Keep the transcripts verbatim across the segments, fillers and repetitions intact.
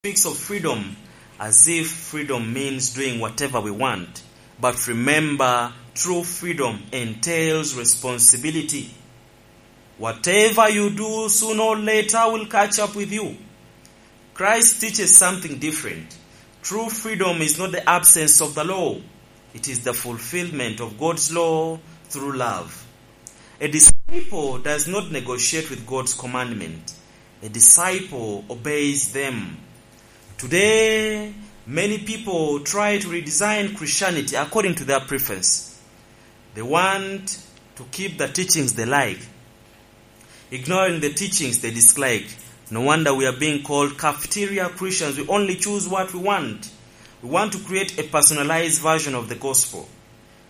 speaks of freedom as if freedom means doing whatever we want. But remember, true freedom entails responsibility. Whatever you do, sooner or later will catch up with you. Christ teaches something different. True freedom is not the absence of the law. It is the fulfillment of God's law through love. A disciple does not negotiate with God's commandment. A disciple obeys them. Today, many people try to redesign Christianity according to their preference. They want to keep the teachings they like, ignoring the teachings they dislike. No wonder we are being called cafeteria Christians. We only choose what we want. We want to create a personalized version of the gospel.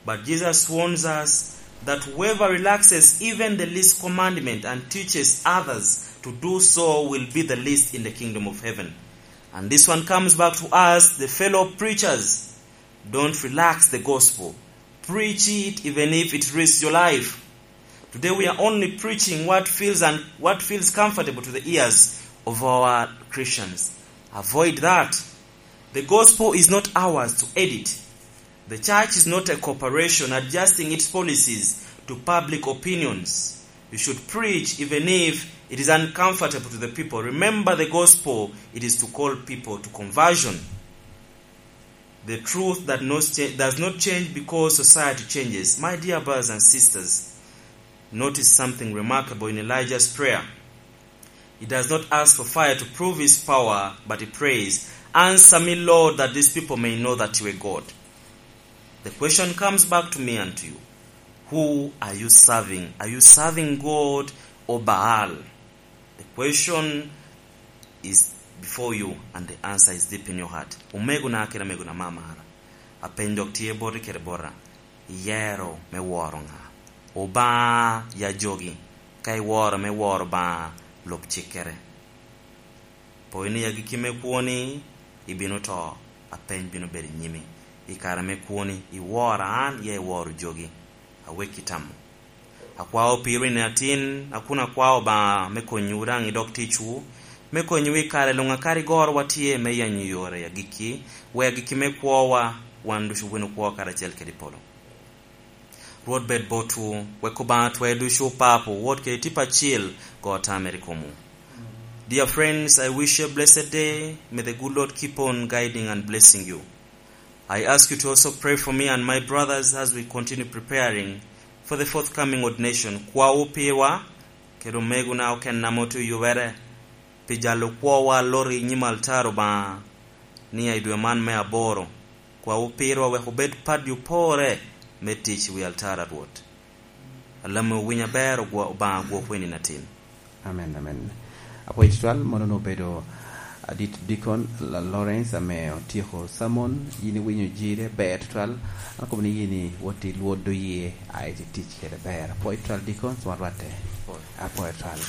But Jesus warns us that whoever relaxes even the least commandment and teaches others to do so will be the least in the kingdom of heaven. And this one comes back to us, the fellow preachers. Don't relax the gospel. Preach it even if it risks your life. Today we are only preaching what feels and what feels comfortable to the ears of our Christians. Avoid that. The gospel is not ours to edit. The church is not a corporation adjusting its policies to public opinions. You should preach even if it is uncomfortable to the people. Remember the gospel, it is to call people to conversion. The truth that not cha-, does not change because society changes. My dear brothers and sisters, notice something remarkable in Elijah's prayer. He does not ask for fire to prove his power, but he prays, "Answer me, Lord, that these people may know that you are God." The question comes back to me and to you. Who are you serving? Are you serving God or Baal? The question is before you and the answer is deep in your heart. Omegona kede amegona amara, apeny dok tye boti kede bota. Iyero me woro ŋa? Obaŋa ya jogi. Ka iworo me woro Obaŋa, lub cikkere. Po ni agikki me kwoni, ibino to, apeny bino bedo i nyimi. I kare me kwoni, iworo an, ya iworo jogi. Awekki tamo. Akwao pirwu i nino atin, a kun akwao Obaŋa me konyowu daŋ i dog ticwu, me konyowu i kare luŋ a kadi gorowa tye me yenyo yore agikki, wek agikki me kwowa, wan ducu win okwo karacel kede i polo. Rwot bed botwu, wek Obaŋa twer ducu Papo, Wod kede Tipo Acil, go tamere i komwu. Dear friends, I wish you a blessed day. May the good Lord keep on guiding and blessing you. I ask you to also pray for me and my brothers as we continue preparing for the forthcoming ordination. Kwawu pirwa, kede omegona okene ame otye oyubere, pi jalo kwowa loro i nyim altar Obaŋa, ni i dwe man me aboro, kwawu pirwa wek obed padi opore me tic i wi altar a Rwot. Alamo owiny aber, ogwo-, Obaŋa gwok weni natin. Amen, amen. Apwoyo tutwal, mono onwoŋo obedo adit Deacon La-, Lawrence ame otyeko sermon. Yin iwinyo jire ber tutwal. Akobo ni yin iwot i Lwod Oyee, a iti tic kede ber. Apwoyo tutwal, Deacon, cwa rwatte. Apwoyo. Apwoyo tutwal.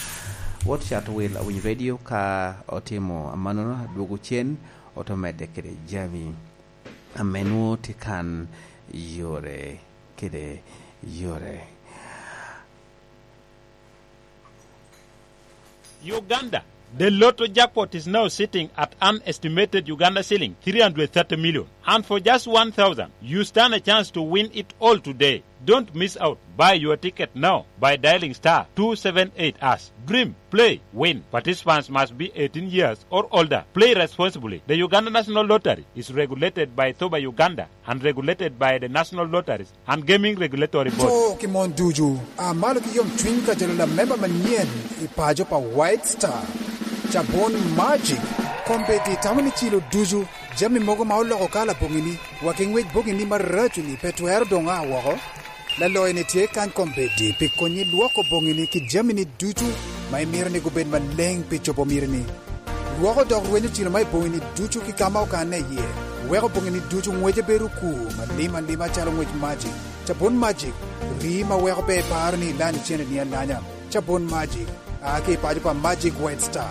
Wot cat wil awiny radio ka otimo amannono, adwogo cen, oto medde kede jami ame nwoŋo tye kan yore kede yore. Uganda, the lotto jackpot is now sitting at an estimated Uganda shilling three hundred thirty million. And for just one thousand, you stand a chance to win it all today. Don't miss out. Buy your ticket now by dialing star two seven eight hash. Dream, play, win. Participants must be eighteen years or older. Play responsibly. The Uganda National Lottery is regulated by Thoba Uganda and regulated by the National Lotteries and Gaming Regulatory Board. To ki mon ducu, a malo ki yom cwiny ka jalo lamemba manyen i paco pa White Star. Cabon Magic, kombeddi tamo ni cilo ducu, jami mogo ma oloko kala boŋini, wa ki ŋwec boŋini maraco-ni pe twero doŋ a woko. Laloyo-ni tye kany kombeddi pi konyi lwoko boŋini ki jamini ducu ma imito ni gubed maleŋ pi cobo mitini. Lwoko dok rwenyo cilo ma i boŋini ducu ki ka ma okanne iye. Weko boŋini ducu ŋwece bedo okur malim alima calo ŋwec Magic. Cabon Magic, rii ma weko pe iparo ni ilanyo cene-ni alanya. Cabon Magic, a ki i paco pa Magic White Star.